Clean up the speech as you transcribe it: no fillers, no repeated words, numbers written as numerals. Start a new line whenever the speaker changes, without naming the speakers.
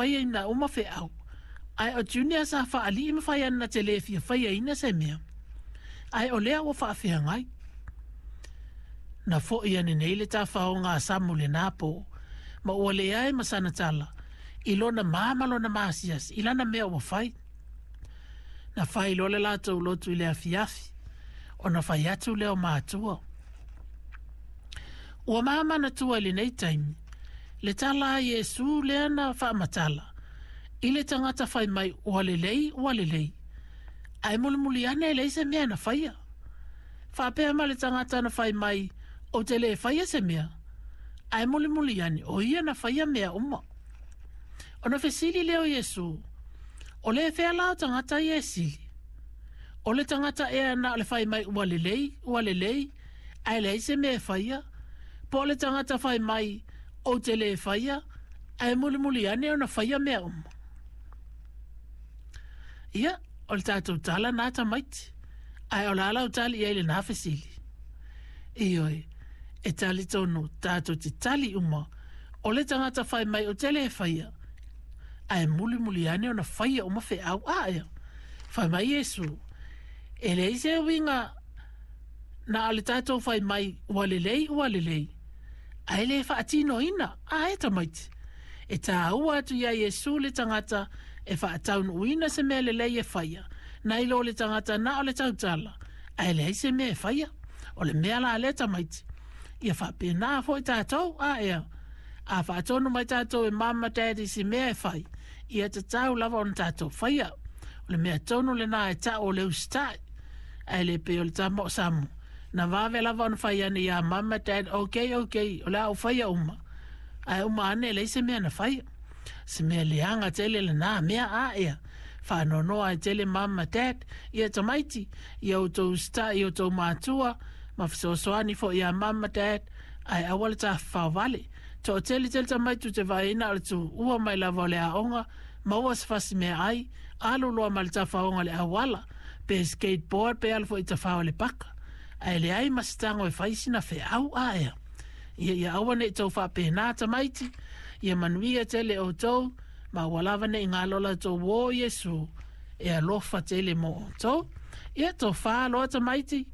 faiaina uma feau, ae o Junior sa faalii ma fai ane na te le fia faiaina se mea, ae o lea ua faafeagai. Na foi ane nei le tafaoga a Samu i lenā po, ma ua leai ma sana tala i lona mā ma lona maasiasi i lana mea ua fai. Na fai loa le latou lotu i le afiafi, ona fai atu lea o matua. Ua mamanatua i lenei taimi le tala a Iesu lea na faamatala i le tagata fai mai ua lelei ua lelei, ae mulimuli ane e leai se mea na faia. Faapea ma le tagata na fai mai ou te le faia se mea, ae mulimuli ane o ia na faia mea uma. Ona fesili lea o Iesu, O le fea la o tagata ia e sili? O le tagata ea na o le fai mai ua lelei, ua lelei, ae leai se mea e faia? Po o le tagata fai mai ou te le faia, ae mulimuli ane ona faia mea uma? Ia, o le tatou tala na tamaiti. Ae o le a lau tali i ai lenā fesili? Ioe, e talitonu tatou te tali uma, o le tagata fai mai ou te le faia, ae mulimuli ane ona faia uma feau a ea. Fai mai Iesu, e leai se uiga na o le tatou fai mai ua lelei ua lelei, ae le faatinoina, a e tamaiti. E tāua atu iā Iesu le tagata e faataunuuina se mea lelei e faia, nai lo le tagata na o le tautala, ae leai se mea e faia. O le mea la lea tamaiti, ia faapena foi tatou, a ea, a faatonu mai tatou e mum ma dad i se mea e fai, ia tatau lava ona tatou faia. O le mea tonu lenā e ta'u o le usitai. Ae le pei o le tama o Samu, na vave lava ona fai ane iā mum ma dad, ok, ok, o le a ou faia uma. Ae uma ane e leai se mea na faia. Se mea leaga tele lenā mea, a ea, faanoanoa ai tele mum ma dad, ia tamaiti, ia outou usitai i outou matua, ma fesoasoani foi iā mum ma dad, ae aua le tafafao vale. Toatele tele tamaiti ou te vaai ai na o le tuua mai lava o le aoga, maua se fasi meaai, alu loa ma le tafaoga i le auala, pe skateboard pe alu foi i tafao i le paka. Ae leai ma se tago e fai sina feau a ea. Ia ia aua ne i tou faapena tamaiti, ia manuia tele outou, ma aua lava ne i galo la outou uō Iesu e alofa tele mo outou. Ia tofa loa tamaiti.